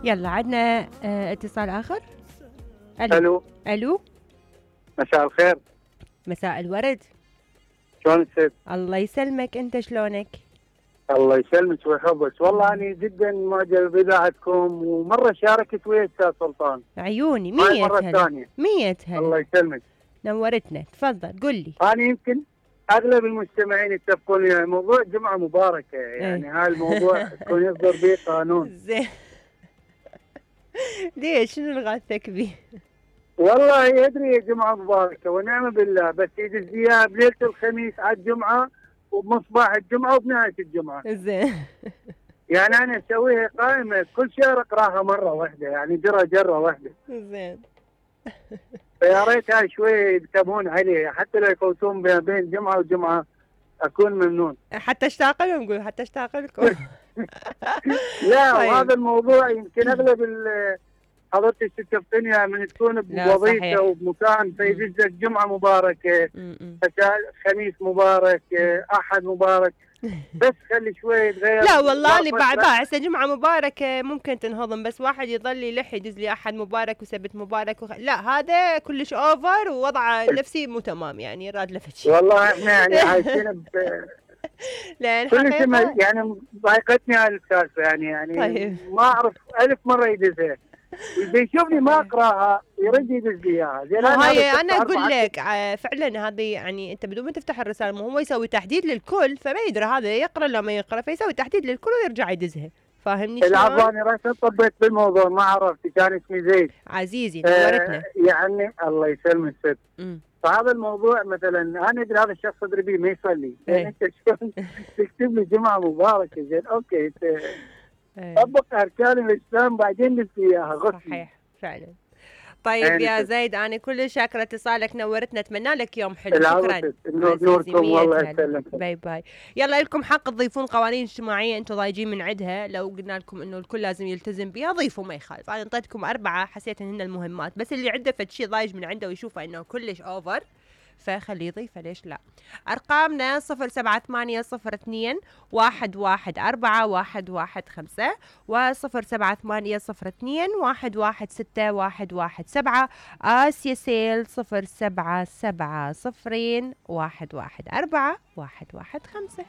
يلا عندنا اتصال آخر. الو. الو مساء الخير. مساء الورد. شلون الست؟ الله يسلمك، انت شلونك؟ الله يسلمك ويحفظك، والله أنا جدا معجب بإذاعتكم ومرة شاركت ويا أستاذ سلطان. عيوني هاي 100 مرة هلا. ثانية. 100 هلا. الله يسلمك. نورتنا، تفضل قل لي. أنا يمكن أغلب المستمعين يتفقون وياي موضوع جمعة مباركة، يعني هاي الموضوع يكون يصدر به قانون. زين. ليش شنو اللي غاثك به؟ والله يدري يا جمعة مباركة ونعم بالله، بس يدز إياها بليلة الخميس على الجمعة وبمصباح الجمعة وبنهاية الجمعة. زين. يعني أنا أسويها قائمة كل شهر أقراها مرة واحدة، يعني جرة واحدة. زين. فيا ريت هاي شوية ينتبهون عليه، حتى لو يفوتون بين جمعة وجمعة أكون ممنون. حتى اشتاق لهم، قول حتى اشتاق لكم. لا طيب. وهذا الموضوع يمكن أغلب حضرتك تكفيني من تكون بوظيفة وبمكان فيدزك جمعة مباركة، خميس مبارك، أحد مبارك، بس خلي شوي يتغير. لا والله اللي بعد هسه جمعة مباركة ممكن تنهضم، بس واحد يظل يلح يدز لي أحد مبارك وسبت مبارك لا هذا كلش أوفر ووضعه نفسي مو تمام، يعني راد لفتش. والله احنا يعني عايشين لأن كل شيء يعني ضايقتني هاي السالفة، يعني طيب. ما أعرف 1000 مرة يدزها بيشوفني ما اقراها يرد يدز لي اياها. هاي انا اقول لك فعلا هذه يعني انت بدون ما تفتح الرساله مو هو يسوي تحديد للكل، فما يدري هذا يقرا ولا ما يقرا، فيسوي تحديد للكل ويرجع يدزها. فاهمني شلون؟ العفو انا راسا طبيت بالموضوع ما عرفت، كان اسمي زيد. عزيزي نورتنا. يعني الله يسلمك ست. فهذا الموضوع مثلا انا ادري هذا الشخص ادري بيه ما يصلي، يعني انت شلون تكتب لي جمعه مباركه؟ زين اوكي طبق اركان الاسلام بعدين نسي اياها غصب. صحيح فعلا. طيب يا زيد انا كل شاكره اتصالك، نورتنا، اتمنى لك يوم حلو. شكرا. نوركم والله يسلمك. باي باي. يلا لكم حق تضيفون قوانين اجتماعيه انتم ضايجين من عندها، لو قلنا لكم انه الكل لازم يلتزم بها ضيفوا ما يخالف. انا اعطيتكم 4 حسيت ان هن المهمات، بس اللي عنده فد شيء ضايج من عنده ويشوفه انه كلش اوفر فخليه يضيفه، ليش لا. ارقامنا 07802 114 115 و07802 116 117 آسيا سيل 077 0114 115.